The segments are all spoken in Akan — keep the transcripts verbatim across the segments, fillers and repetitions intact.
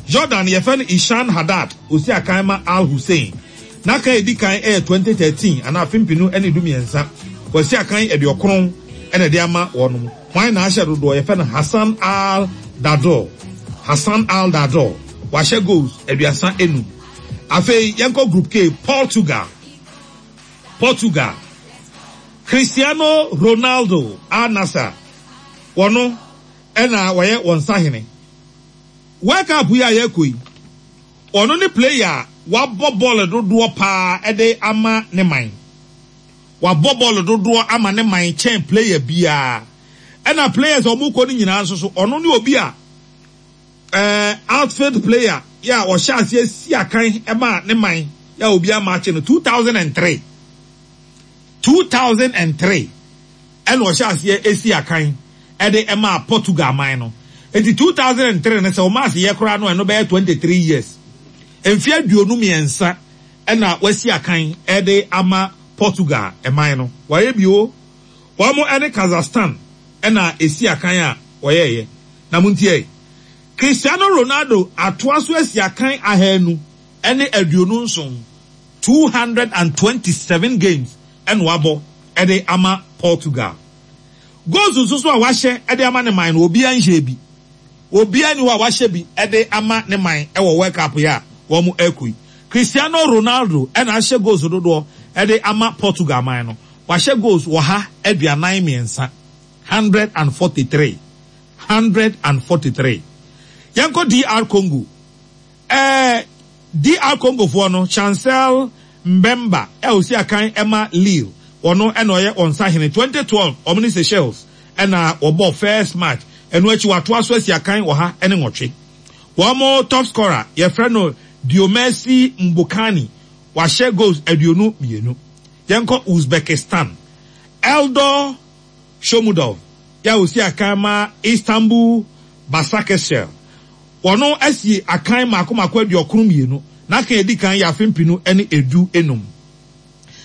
Jordan, yɛfrɛ no Ishan Haddad, osi akan ma Al Hussein. N'akan a edi kan yɛ twenty thirteen anaa afe mpenu ne du mmiɛnsa. Wɔasi akan aduɔkron ɛna ɛde ama wɔn. Hwan na ahyɛ dodoɔ? Yɛfrɛ no Hassan Al Dado. Hassan Al Dado wahyɛ goals aduasa enum. Afei yɛnkɔ Group K, Portugal. Portugal, Cristiano Ronaldo, Al Nassr, wɔno ɛna wɔyɛ wɔn sahene. World Cup yi a yɛkɔ yi, ɔno ne player a wabɔ bɔɔl dodoɔ paa ɛde ama ne man. Wabɔ bɔɔl dodoɔ ama ne man kyɛn player biara. Ɛna players a wɔn kɔ no nyinaa nso so, ɔno ne obi a ɛɛ outfield player yɛ a ɔhyɛ aseɛ si akan ɛma ne man yɛ a obi ama akyi no two thousand and three. two thousand and three ɛna ɔhyɛ aseɛ esi akan ɛde ɛma Portugal man no. Eti two thousand and three no, sɛ ɔmo ase yɛ koraa no, ɛno bɛyɛ twenty three years, mfe aduonu mmiɛnsa ɛna wasi akan ɛde ama Portugal ɛman no. Wɔayɛ bio, wɔn ɛne Kazakhstan ɛna esi akan a wɔyɛɛyɛ. Na mo ntie, Cristiano Ronaldo atoa so asi akan ahanu ɛne aduonu nson, two hundred and twenty seven games ɛna wabɔ ɛde ama Portugal. Goals nso so a wahyɛ ɛde ama ne man no, obiara nhyɛ bi. Obiara ni hɔ a wahyɛ bi ɛde ama ne man ɛwɔ World Cup yi a wɔn ɛkɔ yi. Cristiano Ronaldo ɛna ahyɛ goals dodoɔ ɛde ama Portugal man no. Wahyɛ goals wɔ ha aduanan mmiɛnsa, hundred and forty three, hundred and forty three. Yɛnkɔ D R Congo. ɛɛ D R Congo foɔ no, Chancel Mbemba ɛ osi akan ɛma Lille, ɔno ɛna ɔyɛ wɔn sahene. twenty twelve, ɔmo ne Seychelles ɛna wɔbɔ first match. Ɛno akyi watoa so asi akan wɔ ha ɛne nwɔtwe. Wɔn top scorer, yɛfrɛ no Dieumerci Mbokani, wahyɛ goals aduonu mmienu. Yɛnkɔ Uzbekistan. Eldor Shomurodov yɛ a osi akan ma Istanbul Basakesir, wɔno asi akan mako mako aduɔkron mmienu. N'aka edi kan yɛ afe mpenu ne edu enum.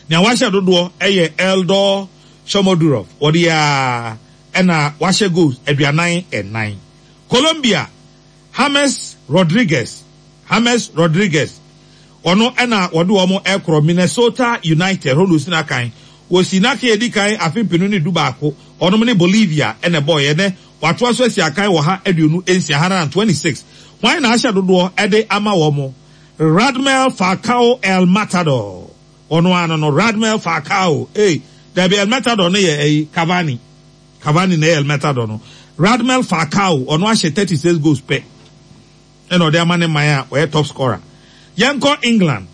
Nea wahyɛ dodoɔ yɛ Eldor Shomurodov, wɔde yɛ a ɛna wahyɛ goals aduanan ɛnan. Colombia, James Rodriguez. James Rodriguez, ɔno ɛna wɔde wɔn ɛkorɔ Minnesota United hɔ na osi n'akan. Wosi n'akan edi kan afe mpenu ne du baako, ɔnom ne Bolivia ɛna ɛbɔɔ yɛ. Nɛ watoa so asi akan wɔ ha aduonu nsia, hundred and twenty six. Wɔn na ahyɛ dodoɔ ɛde ama wɔn? Radamel Falcao, El Matador, ɔno ano no Radamel Falcao. Ee, dabi, El Matador no yɛ ɛyi Cavani. Cavani na ɛyɛ El Matador no. Radamel Falcao, ɔno ahyɛ thirty six goals pɛ ɛna ɔde ama ne man a ɔyɛ top scorer. Yɛnkɔ England.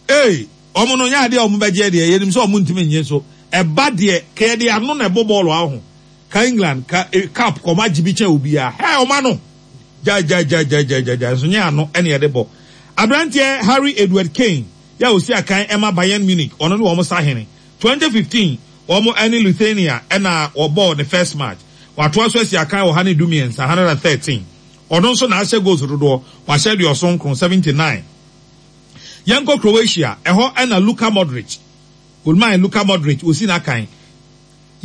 Ee, ɔmo no nyɛ adeɛ a ɔmo bɛgye deɛ, yɛnim sɛ ɔmo ntumi nye so. Ɛba deɛ kɛyɛ ano na ɛbɔ bɔɔlo aho ka England ka e, cup kɔm agye bi kyɛn obiara. Hɛ, ɔmo ano gyagyagyagyagyagyagya nso nyɛ ano ɛna yɛde bɔ. Aberanteɛ Harry Edward Kane yɛ a osi akan ɛma Bayern Munich, ɔno ne wɔn sahene. twenty fifteen, wɔn ɛne Lithuania ɛna wɔbɔɔ ne first match. Watoa so asi akan wɔ ha ne du mmiɛnsa, hundred and thirteen. Ɔno nso na ahyɛ goals dodoɔ, wahyɛ aduɔson nkron, seventy nine. Yɛnkɔ Croatia. Ɛhɔ ɛna Luka Modric, olman Luka Modric, osi n'akan.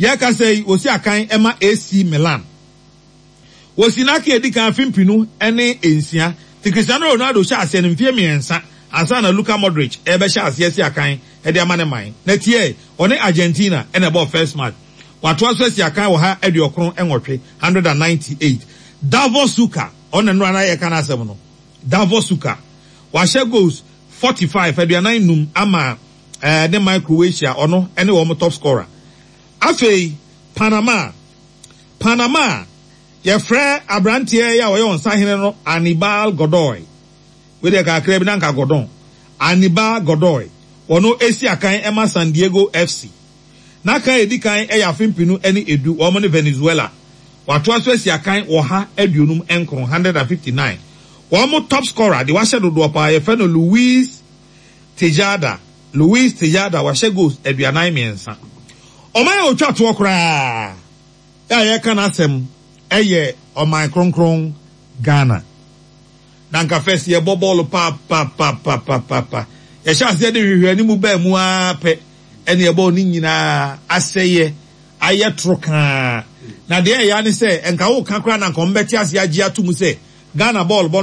Yɛka sɛ yi, osi akan ɛma A C Milan. Wosi n'akan edi kan afe mpenu ne nsia. Ti Cristiano Ronaldo hyɛ aseɛ no mfeɛ mmiɛnsa ansa na Luka Modric ɛbɛhyɛ aseɛ si akan ɛde ama ne man. Na tie, ɔne Argentina ɛna ɛbɔɔ first match. Watoa so asi akan wɔ ha aduɔkron nwɔtwe, hundred and ninety eight. Davor Suker, ɔna nnora na yɛka n'asɛm no. Davor Suker wahyɛ goals forty five, aduanan num, ama ɛɛ ne man Croatia. Ɔno ɛne wɔn top scorer. Afei Panama. Panama, yɛfrɛ aberanteɛ yi a ɔyɛ wɔn sahene no Anibal Godoy. Wei deɛ kakra bi na nka Gordon. Anibal Godoy, ɔno esi akan ɛma San Diego F C. N'akan edi kan ɛyɛ afe mpenu ne edu, wɔn ne Venezuela. Watoa so asi akan wɔ ha aduonum nkron, hundred and fifty nine. Wɔn top scorer de wahyɛ dodoɔ paa, yɛfrɛ no Luis Tejada. Luis Tejada wahyɛ goals aduanan mmiɛnsa. Ɔman a otwa toɔ koraa a yɛka n'asɛm ɛyɛ ɔman kronkron Ghana. Na nka first yɛbɔ bɔɔlo paapaapaapapa, yɛhyɛ aseɛ de hwehwɛ anim baa mu ara pɛ, ɛne ɛbɔɔl ne nyinaa asɛyɛ ayɛ toro kaa. Na deɛ ɛyɛ ne sɛ nka woka koraa na nka ɔmo bɛte ase agye ato mu sɛ Ghana bɔɔl bɔ no.